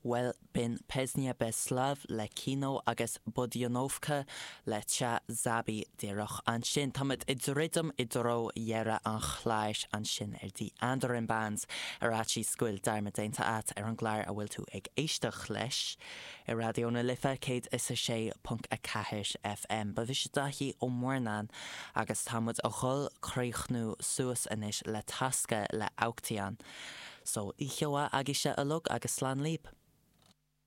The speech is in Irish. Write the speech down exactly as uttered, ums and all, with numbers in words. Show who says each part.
Speaker 1: Bhuel b'in Pesnia Bez Slov le Kino agus Budyonovka le Cha Zabi díreach ansin. Táimid ag druidim i dtreo dheireadh an chláir ansin ar The Andarim Bands ar fhaitíos go bhfuil dearmad déanta agat ar an gclár a bhfuil tú ag éisteacht leis ar Raidió na Life céad is a sé ponc a ceathair FM. Ba mhise Daithí Ó Murnáin agus táimid ag dul críochnú suas anois le Taska le Auktion. So oíche mhaith agaibhse uilig agus slán libh.